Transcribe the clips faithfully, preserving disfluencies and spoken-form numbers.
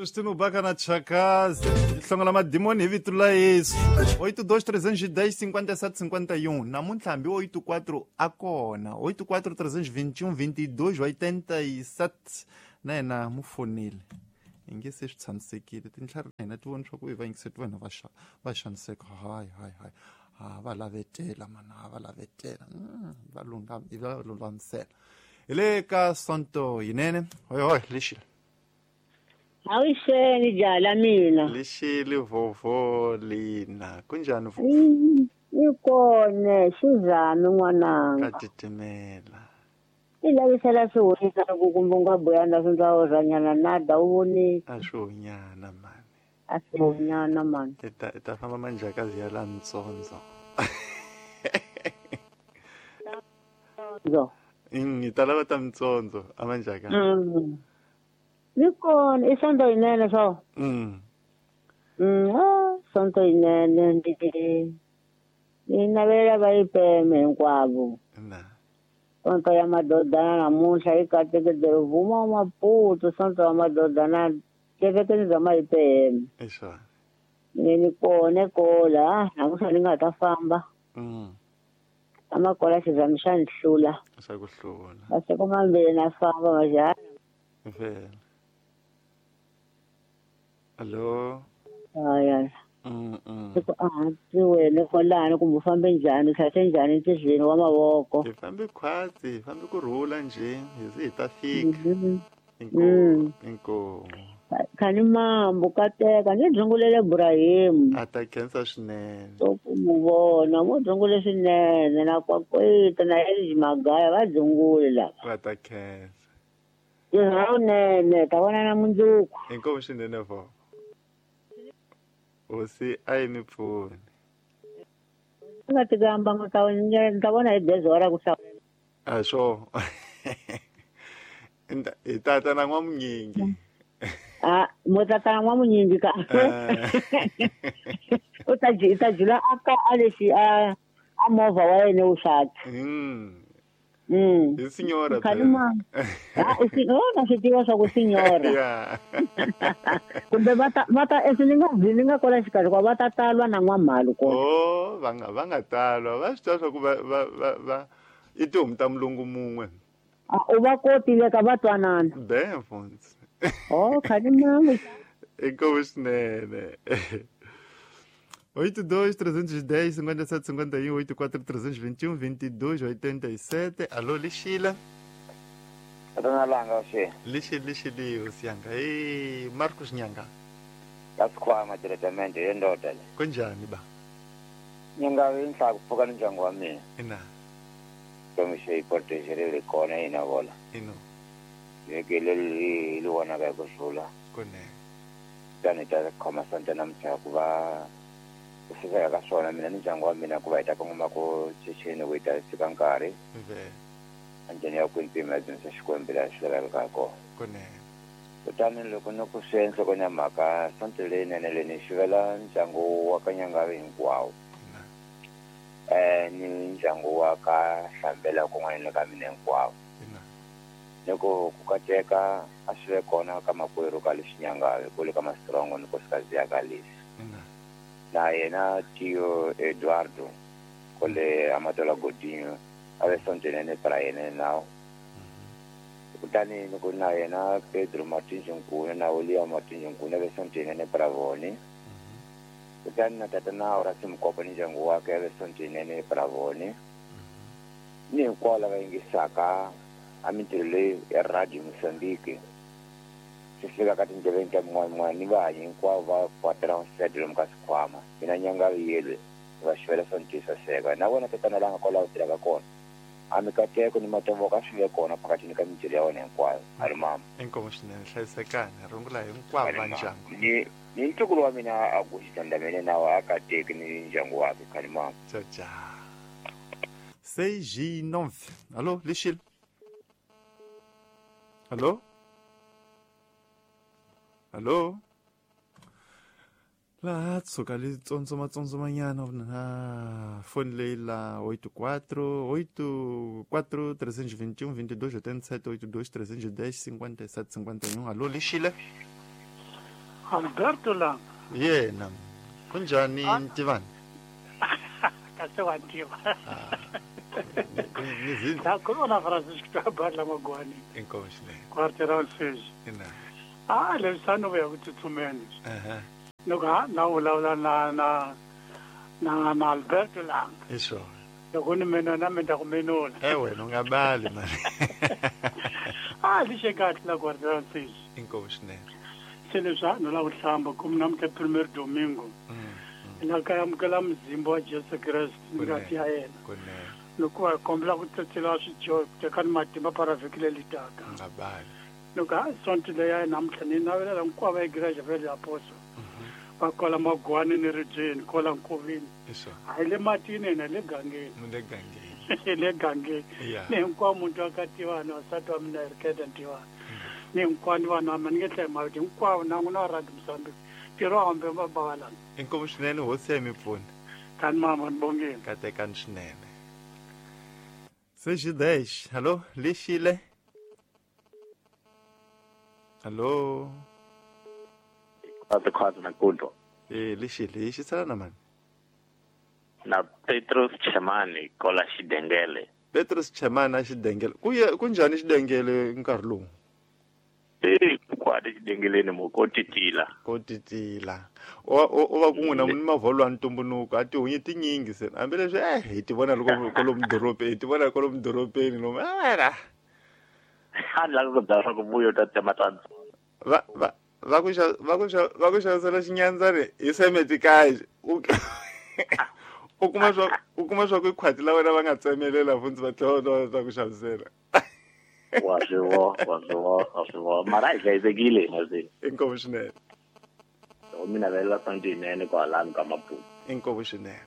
Sustino baka na chakaza hlongola madimoni hi vito la Yesu. Oito dois trezentos e dez cinquenta e sete cinquenta e um. Namuntlha hambi oito quatro a kona. Oito quatro trezentos e vinte e um vinte e dois oitenta e sete. Na yena mu fonile. Hi nge se swi tshamisekile tintlhari na hina ti voni swa ku hi va yingiseti vanhu va xa va xaniseka. Hayi hayi hayi. Ha va lavetela mana, ha va lavetela. Va lungam, hi va lulamisela. Hi le ka Sonto yinene. Hoy hoy lexi. Awuxeni jala mina. Lexi vovo lina. Kunjani vovo? Ni kona xizami n'wananga. Ka titimela. I lavisela swihoxisa loko kumbe u nga buyana swi ndza orhanyana nada u voni. A swi hunyana mani. A swi hunyana mani. I ta i ta famba manjhakazi ya la ntsondzo. Ntsondzo. Mm, i ta lava ta mitsondzo a manjhakazi. Mm. Ni kona i Sonto yinene swo. Mm. Mm, ah, Sonto yinene ndi ni navela va yi peme hinkwavo. Na. Sonto ya madodana namuntlha yi katekile vuma wa Maputo Sonto ya madodana kerekeni bya Mayipeme. Eswa. Ni ni kona kola namuntlha ni nga ta famba. Mm. Amakola xizami xa ni hlula. Xa ku hlula. Masiku mambirhi na famba majana. Vela. Allo. Aya. Mm mm. Ku a ti wena kwalano kumbe u fambe njhani u tlhase njhani ntirhweni wa mavoko. Hi fambe khwatsi, hi fambe ku rhula njhe, hi ze hi ta fika. Inkomu, inkomu. Khani mambo kateka ni dzungulele Ibrahim. A ta khensa swinene. To ku mu vona mo dzungule swinene na kwakweta na Elji Magaya va dzungule lava. Va ta khensa. Nene ta vona na mundzuku. Inkomu swinene vo. Hosi a yi mi pfuni. Nga tikamba nga ta ta vona hi gezi ra ku hlawula. A swo. Hi tata na n'wamunyingi. Ah, mo tata na n'wamunyingi ka. U ta ji ta jula a ka a lexi a a movha wa yena wu xata. Mm. Mm. I signora. Khalima. Ah, i signora na swi tiva swa ku signora. Yeah. Kumbe va ta va ta esi ni nga ni nga kola xikarhi kwa va ta talwa na n'wamhalo kona. Oh, va nga va nga talwa. Va swi tiva swa ku va va va va i tihomu ta mulungu mun'we. Ah, u va kotile ka va twanana. Be mfundzi. Oh, khalima. Inkomu swinene. Oito dois trezentos e dez cinquenta e sete cinquenta e um, oito quatro trezentos e vinte e um vinte e dois oitenta e sete. Alô, Lixila. Dona Langa, você. Lixi, Lixi, Lixi, Ei, Marcos Nhanga. Kasikhwama diretamente yendoda le. Kunjani ba? Nyanga inhla kuphuka ndyangu wa mina. Ina. Komishe iportejere le kona ina vola. Ino. Yekele li li wona ka kusula. Kone. Tani ta khoma santa namhla kuva ku fika ka swona mina ni ndyangu wa mina ku va hi ta kongoma ku checheni ku hi ta fika nkarhi. Ve. Anjhani ya ku mpima dyondzisa Xikwembu laha xi lavekaka kona. Kone. Kutani loko ni ku swi enhlokweni ya mhaka Sonto leyinene leyi ni xivela ndyangu wa ka Nyangavi hinkwawo. Eh ni ndyangu wa ka Hlambela kun'wana na ka mina hinkwawo. Ni ku ku kateka a swi ve kona ka makwerhu ka lexi Nyangavi ku le ka Mastrongo ni nkosikazi ya ka lexi. Na yena Tio Eduardo kole Amatola Godinho a ve Sonto yinene para yena nawo. Kutani ni ku na yena Pedro Martins Nkuna na William Martins Nkuna ve Sonto yinene para vona. Kutani na tata na Horace Mkopo ni ndyangu wakhe ve Sonto yinene para vona. Ni hinkwavo lava yingisaka a mintirho leyi ya Radio Mozambique swi fika ka tindleveni ta min'wana min'wana ni vahanyi hinkwavo va kwatela nsete lomu ka swikhwama. Mina Nyangavi yelwe va xivela Sonto saseka na vona tatana la nga kwalaho tirhaka kona. A mikateko ni matovoka a swi ve kona phakathini ka mintirho ya wena hinkwayo. A ri mama. Inkomu swinene hlayisekani rungula hinkwavo va ndyangu. Ni ni ntukulu wa mina a guxisa ndamene nawo a kateki ni ndyangu wakhe khani mama. Tchau tchau. Seis e nove. Alô, Lixil. Alô? Alô? Laha tshuka li tsondzoma-tsondzomanyana na foni leyi la oito quatro oito quatro trezentos e vinte e um vinte e dois oitenta e sete oito dois trezentos e dez cinquenta e sete cinquenta e um. Alô, Lixila. Alberto Langa. Yena. Kunjani Ntivani? Kahle wa ntiva. La corona Francisco Tabala Magwani. Inkomo swinene. Quarteirão seis. Ina. Ah, lesano ya ku tsutsumeni. Aha. Loko ha na vulavula na na na na Alberto Langa. Hi swona. Loko ni mina na mina ku menula. Eh wena u nga bali mani. Ah, lixe kahle la quarteirão seis. Inkomo swinene. Se leswi a no la ku hlamba ku namuntlha primeiro domingo. La ka amukela mzimba wa Jesu Kreste ngati ya yena. Loko va kombela ku tsetsela swidyoho ku teka ni matimba para vhiki leri taka. Nga bali. Loko a sonto leyi namuntlha ni navelela hinkwavo igreja va le aposto. Va kola magwani ni ribyeni kola nkovini. A hi le matini na le gangeni. Le gangeni. Le gangeni. Ni hinkwavo muntu wa ka Tivani wasati wa mina Eriketa Ntivani. Ni hinkwavo vanhu va mina ni nge hlayi mavito hinkwavo na n'wina wa Radio Mozambique. Ntirho hambe mabavalana. Inkomo swinene hosi ya mi pfuna. Kani mama ni bongile. Katekani swinene. seis e dez. Alô, Lixile. Alô. Quatro quatro na kundo. Eh, Lixile, xisala na mani? Na Petrus Chemani kola Xidengele. Petrus Chemani a Xidengele. Ku kunjhani Xidengele nkarhi lowu? Eh, kwadi Xidengeleni mo ko titila. Ko titila. O o va ku n'wina ni mavholo ya ntumbuluko a tihunyi tinyingi se. Hambileswi eh hi ti vona loko kwalomu dorobeni, hi ti vona kwalomu dorobeni lomu. Ah. A ni lava ku byela swa ku vuyo ta tsema ta. Va va va ku xa va ku xa va ku xavisela xinyandzani hi semetikaji. U u kuma swa u kuma swa ku khwati la wena va nga tsemelela funtsi va tlhela va ta ku xavisela. Wa swi vona, wa swi vona, wa swi vona. Mara hi hlayisekile hina se. Inkomu swinene. Loko mi navelela sonto yinene kwalano ka Maputo. Inkomu swinene.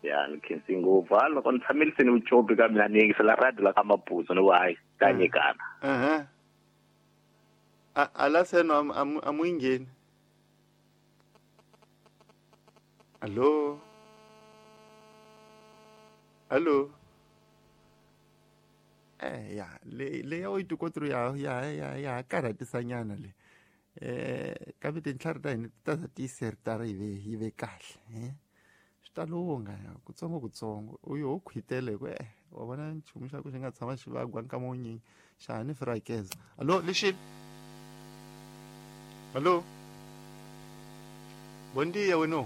Ya ni khensi ngopfu. Ha loko ni tshamile se ni vucopi ka mina ni yingisela radio la ka Maputo ni ku hayi ta nyikana. Aha. A ala seno a mu ngheni. Allo. Allo. Eh ya le le ya oito quatro ya ya ya ya karhatisanyana le. Eh kambe tintlhari ta hina ti ta za tiyiseritara yi ve yi ve kahle eh swi ta lungha ya kutsongo kutsongo uyo ho khwitele ku eh wa vona nchumu xa ku xi nga tshama xi vagwa nkama wunyingi xa ha ni firakeza. Allo Lixile. Allo. Bom dia wena.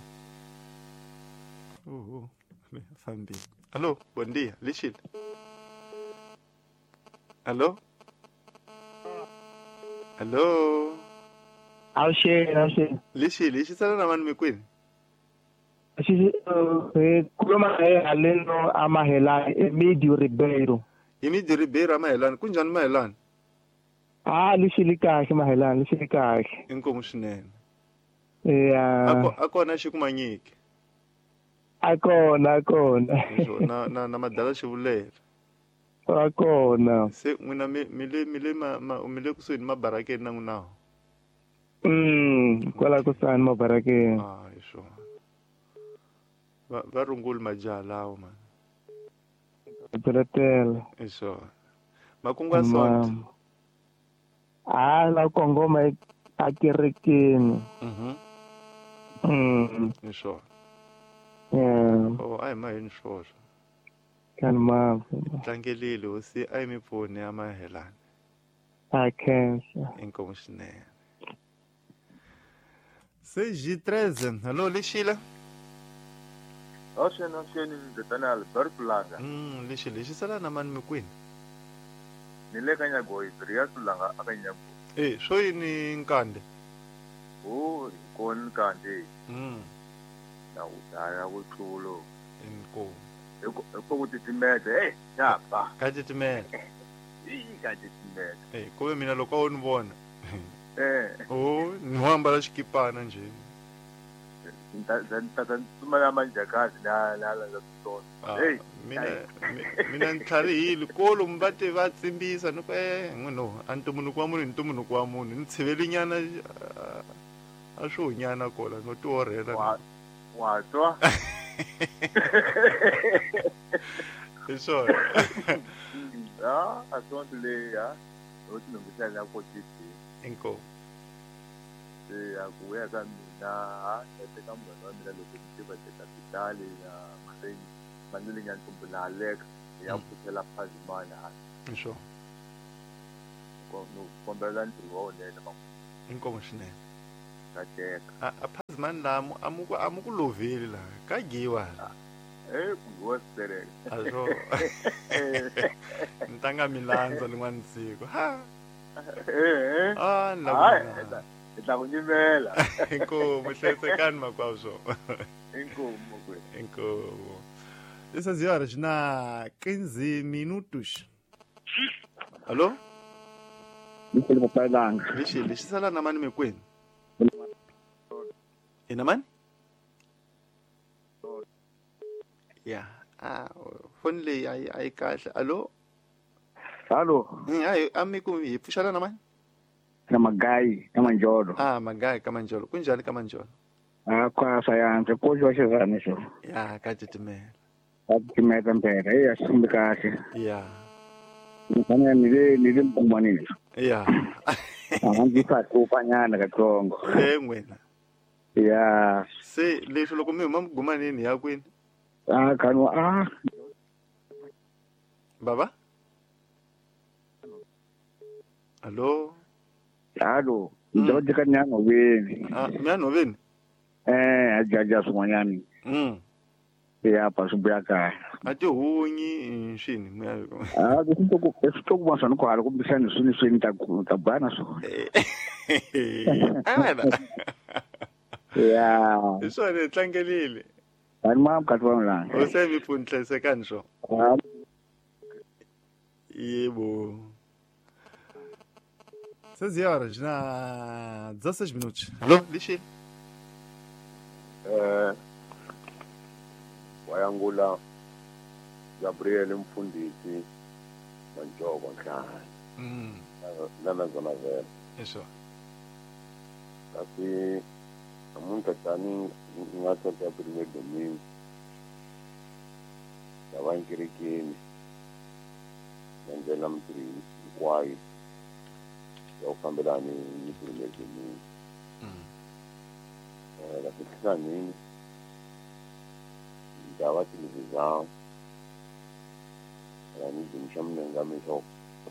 Oho fambile. Allo, bom dia Lixile. Allo? Allo? Awuxeni, awuxeni. Lixile, xisala na vanhu mi kwini? Xi eh khuluma hi haleno amahelani, Emidio Ribeiro. Emidio Ribeiro amahelani, kunjhani mahelani? Ah, lixile kahle mahelani, lixile kahle. Inkomu swinene. Yeah. Ako akona xi kuma nyiki. Akona, akona. Na na na madala xivulela. Akona. Se n'wina mi mi le mi le ma mi le kusuhi ni mabarakeni na n'wina. Mm, kwala kusuhani mabarakeni. Ah, hi swona. Va va rungula majaha lawo man. Byeletela. Hi swona. Makungu ya sonto. Ah, la kongoma a kerekeni. Mhm. Mm. Hi swona. Yeah. Oh, a hi maheni swoswo. Kan ma. Tlangelile hosi a yi mi pfuni ya mahelani. A khensa. Inkomu swinene. seis e treze. Allo, Lixile. Awuxeni, awuxeni ndzotana Alberto Langa. Mm, Lixile, xisala na mani mi kwini? Ni le ka Nyagoyi, Brias Langa aka Nyagoyi. Eh, swo yini nkande? Oh, hi kona nkande. Mm. Na ku daya ku tlulo. Inkomu. Hi ku titimeta, hey, ya ba. Ka titimeta. Hi ka titimeta. Eh, ku ve mina loko a wo ni vona. Eh. Oh, ni ho ambala xikipana njhe. Ta ta ta tsumela manjakazi la la la la swona. Hey, mina mina ni tlharihile kolo mi va te va tsimbisa ni ku eh n'wino a ntumbuluko wa munhu i ntumbuluko wa munhu ni tshivelinyana a swo nyana kola no ti orhela. Wa wa twa. Hi swona. Ah, a sonto leyi ya ho ti lunghisela ku titi. Inkomu. Se ya ku ya ka mina ha teka munghana wa mina loko ni tiva kapitali ya Marini Manuli Nyantumbu na Alex ya pfuxela Phazimani ha sure ko no kombela ntirho wa wunene ma inkomo swinene ka teka a a Phazimani la amuku amuku loveli la ka giwa eh ku giwa sitereke a swo ntanga milandza lin'wana siku ha eh ah la hi ta ku nyimela inkomo hlayisekani makwavo swo inkomo kwe inkomo dezesseis horas na quinze minutos. Alô? Lixi papai langa. Lixi, lixi sala na mani mekwenu. Ina mani? Ya. Ah, phone leyi a yi a yi kahle. Alô? Alô? Hayi amiku hi pfuxela na mani? Na Magayi ka Manjolo. Ah, Magayi ka Manjolo. Kunjhani ka Manjolo? Ah, kwa sayansi ko xo xizani xo. Ya, ka titimela. Ka titimela mpela. Eh, a swi fambi kahle. Ya. Ni fanele ni le ni le mkumanini. Ya. A ndzi fa hlupha-nyana katsongo. Eh n'wina. Ya. Se leswi loko mi huma mgumanini ya kwini? Ah, kanu ah. Baba? Alô? Alô, ndzi ka nyanhoveni. Ah, nyanhoveni? Eh, a jaja swin'wanyana. Mm. Ya pa swi buya kahle. A tihunyi swini mi ya. Ah, leswi to ku leswi to ku va swona ku hala kumbexani swini swini ta ku ta bana swona. Ah, Ya. Hi swona hi tlangelile. Ani ma mukati wa langa. U se mi pfuni hlayisekani swo. Yebo. seis horas na dezesseis minutos. Alô, Lixi. Eh, wayangula Gabriel Mfundisi Manjoko Nhlahla. Mm. Na na zona vela. Isso. Kasi namuntlha tani nga sonto ya primeiro domingo. Ya va nkerekeni. Ndlela mintirho hinkwayo. Ya ku fambelana ni primeiro domingo. Mm. Eh, kasi hlanganini ndaba televisão. Ela me deu um chame